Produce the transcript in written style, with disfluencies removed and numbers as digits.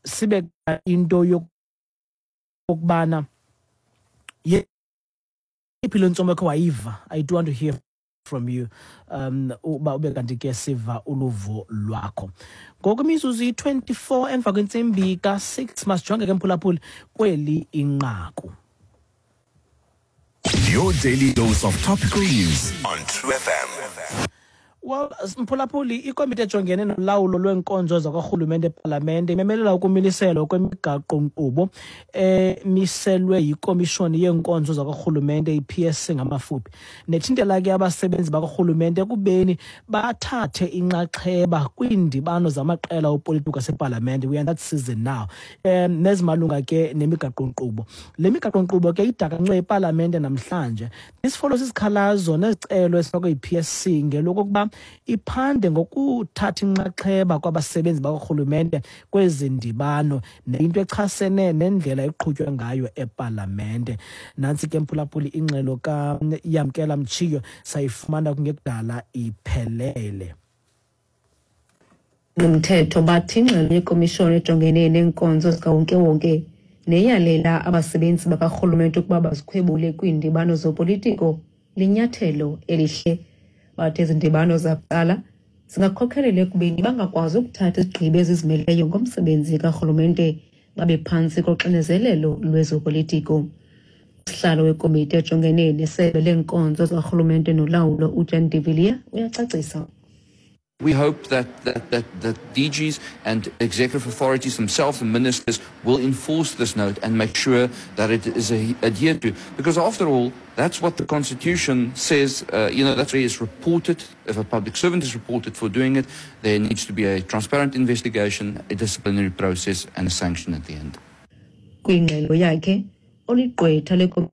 Sibe into yokubana yeyiphi le ntsomo ekhe wayiva. I do want to hear from you, uba ube kanti ke siva uluvo lwakho. Ngoku imizuzu iyi-24 emva kwentsimbi ka-6. Masijonge ke, mphulaphuli, kweli inqaku. Your daily dose of topical news on True FM. Well, mphulaphuli, ikomiti ejongene nolawulo lweenkonzo zakwarhulumente epalamente imemelela ukumiliselwa kwemigaqo-nkqubo emiselwe yiKomishoni yeeNkonzo zakwarhulumente, i-PSC ngamafuphi, nethintela ke abasebenzi bakwarhulumente ekubeni bathathe inxaxheba kwiindibano zamaqela opolitiko asepalamente. We are in that season now. Nezimalunga ke nemigaqo-nkqubo. Le migaqo-nkqubo ke idakancwe epalamente namhlanje. This follows isikhalazo nezicelo esifakwe yi-PSC ngelokokuba iphande ngokuthatha inxaxheba kwabasebenzi bakwarhulumente kwezi ndibano, nento echasene nendlela eqhutywa ngayo epalamente. Nantsi ke, mphulaphuli, ingxelo kaYamkela Mtshiyo, sayifumana kungekudala iphelele. Nomthetho bathi ingxelo yekomishoni ejongene neenkonzo zikawonkewonke neyalela abasebenzi bakarhulumente ukuba bazikhwebule kwiindibano zopolitiko linyathelo elihle. Bathi ezi ndibano zakuqala zingakhokhelela ekubeni bangakwazi ukuthatha izigqibo ezizimeleyo ngomsebenzi karhulumente, babe phantsi koxinezelelo lwezopolitiko. Usihlalo wekomiti ejongene nesebe leenkonzo zikarhulumente nolawulo, uJan de Villiers, uyacacisa. We hope that DGs and executive authorities themselves, the ministers, will enforce this note and make sure that it is adhered to. Because after all, that's what the Constitution says. That's where it's reported. If a public servant is reported for doing it, there needs to be a transparent investigation, a disciplinary process, and a sanction at the end. Kwingxelo yakhe, oligqwetha.